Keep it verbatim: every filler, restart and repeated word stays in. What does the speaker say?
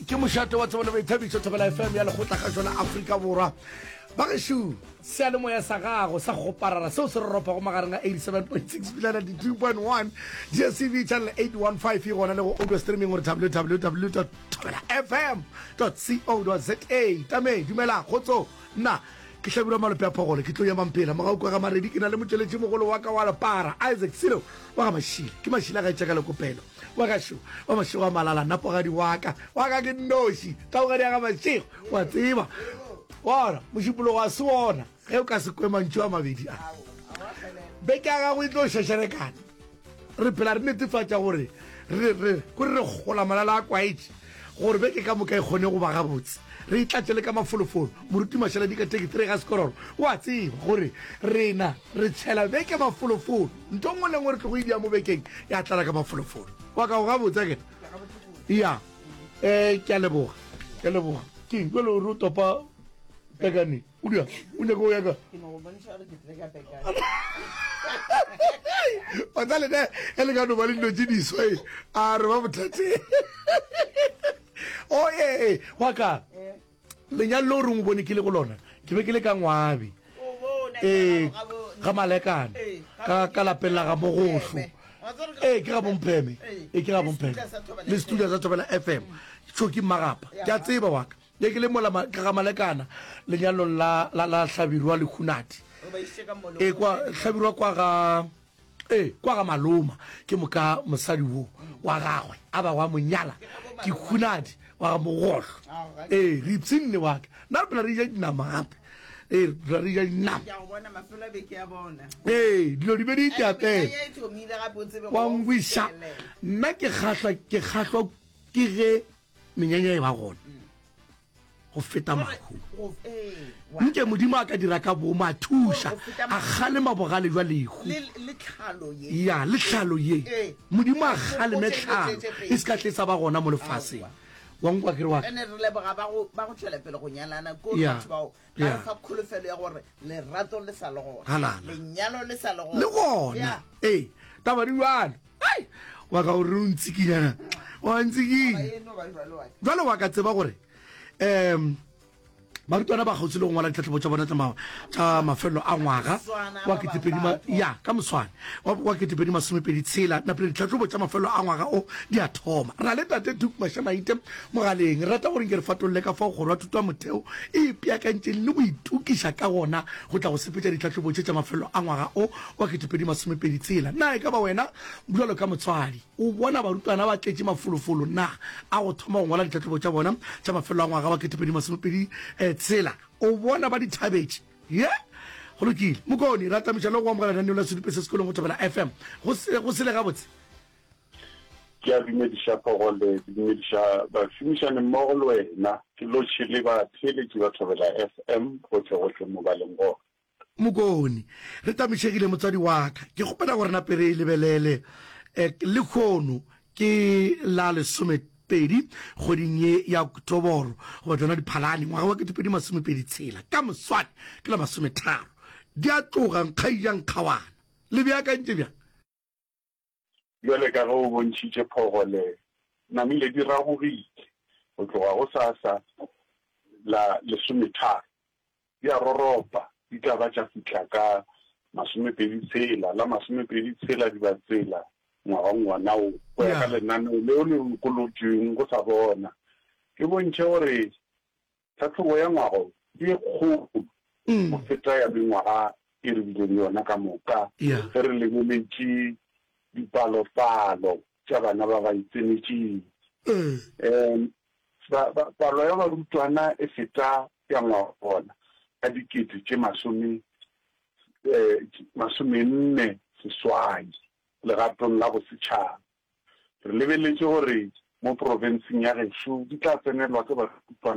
Ke mošate wa tsebo le boithabišo Thobela F M ya Lekgotlakgašo la Afrika Borwa. Bagešo, seyalemoya sa gago sa kgoparara seo se roropago magareng a eighty-seven point six pila ninety-two point one, D S T V channel eight one five e gona le go audio streaming gore W W W dot thobela F M dot co dot Z A. Tame, dumela, kgotso, nna ke Hlabirwa Malope a Phogolo, ke tlo ya Mampela, mogau kwa ga Maredi, ke na le motšweletši mogolo wa ka wa lepara, Isaac Silo wa ga Mašile, ke Mašile a gaetša ka lekopelo, wa gašo wa mašego a malala, napogadi wa ka, wa ka ke nnoši, taugadi ya ga Mašego, wa tseba, wa ona, mošupologo a se ona, ge o ka se kwe mantšu a mabedi a, beke ya gago e tlo šešerekana. Re phela re netefatša gore re, re, kore re gola malala a kwaetše, gore beke ka moka e kgone go ba gabotse. Re itlatše le ka mafolofolo. Moruti Mašaledi ka thirty-three ga sekororo, o a tseba gore rena re tšhela beke mafolofolo. Ntho nngwe le nngwe re tlogo e dia mo bekeng ya tlala ka mafolofolo. Wa ka o gabotse akere? Ya. Eh, ke a leboga. Ke a leboga. Ke eng? Jwale o re o topa pekane. O dia? O nyaka o ya ka? Ke no go bontšha gore ke tlile ka pekane. Wa tla le ne, e le ka no ba le dilo tše diswa e. A re ba bothateng. O e, wa ka. Lenyalo leo re o bone ke le go lona, ke be ke le ka Ngwabi. Eh, ga Malekane. Ka, ka lapeng la ga Mogohlo. Eh, ke ga Bompheme. Eh, ke ga Bompheme. Le studio sa Thobela F M. Tšhoki Mmagapa. Ke a tseba wa ka. Ke ke le mola ma-, ka ga Malekana, lenyalong la, la, la Hlabirwa le Hunadi. E kwa Hlabirwa kwa ga, e, kwa ga Maloma. Ke moka mosadi wo wa gagwe a ba wa monyala ke Hunadi wa ga Mogohlo. E, re ipshinne wa ka. Nna re phela re ja dinama gape. E, re phela re ja dinama. Ke a go bona mafelo a beke ya bona. E, dilo di be di itapela. Ai, e thomile gape o tsebe Wa go ngwiša. fihlelela. Nna ke kgahlwa, ke kgahlwa ke ge menyanya e ba gona. Go feta mahu. Go, ee, wa. Nke Modimo a ka dira ka boomo, a thuša, Go feta a mahu. kgalema bogale jwa lehu. Le, le tlhalo ye. Ya, le tlhalo ye. Ee. Modimo a Go, go kgaleme tše dilo tše tlhalo, tše pedi. e se ka tle sa ba gona mo lefaseng. Aowa. Wa nkwa ke re wa ka? Ene re leboga ba go, ba go tšwela pele go nyalana, ko Ya. batho bao ba Ya. re fa kholofelo ya gore lerato le sa le gona. Halala. Lenyalo le sa le gona. Le gona. Ya. Ee, taba di bjalo. Ai, wa ka o re o ntsikinyana. Wa ntsikinya. Taba eno ba jwalo wa ka. Jwale wa ka tseba gore, em, barutwana ba kgauswi le go ngwala ditlhahlobo tša bona tša ma-, tša mafelelo a ngwaga wa ketepedi ma-, ya, ka moswane, wa, wa ketepedi masomepedi tshela, napile ditlhahlobo tša mafelelo a ngwaga o di a thoma. Re na le Tate Duke Mashamaite mogaleng. Re rata gore nke re fatolle ka fao kgoro ya thuto ya motheo e ipeakantšeng le go itokiša ka gona go tla go sepetša ditlhahlobo tše tša mafelelo a ngwaga o wa ketepedi masomepedi tshela. Na e ka ba wena bjalo ka motswadi o bona barutwana ba tletše mafolofolo na a go thoma go ngwala ditlhahlobo tša bona tša mafelelo a ngwaga wa ketepedi masomepedi, eh, tshela? O bona ba di thabetše? Ye, go lokile. Mokoni, ra tamiša le go amogela lenaneo la Sedupe se Sekolong go Thobela F M. Go se, go sele gabotse. Ke a dumediša Phogole, ke dumediša bašomišani mmogo le wena, ke lotšhe le batheeletši ba Thobela F M gohle-gohle mo ba leng gona. Mokoni, re tamišegile motswadi wa ka. Ke kgopela gore nape re e lebelele. Eh, lehono ke la lesomepedi kgweding ye ya Oktoboro, goba tšona Diphalane, ngwaga wa ketepedi masomepedi tshela. Ka moswane ke la masometharo. Di a tloga nkgaija nkgawana. Le beakantše bjang? Bjale ka ge o bontšhitše Phogole, namile di ragogile go tloga go sasa la lesometharo. Di a roropa, di tla ba tša fihla ka masomepedi tshela, la masomepedi tshela di ba tsela ngwageng wona wo, go ya ka Ya. lenaneo leo le lokolotšweng go sa bona. E bontšhe gore tlhahlobo ya ngwago ke e kgolo Mm. go feta ya mengwaga e re bileng le yona ka moka, Ya. ge re lebeletše dipalopalo tša bana ba ba itsenetšeng. Eh. Em, ba, ba, palo ya barutwana e feta ya ngwaga ka dikete tše masome, eh, masomenne seswai legatong la bosetšhaba. Re lebeletše gore mo profenseng ya gešo di tla tsenelwa ke barutwana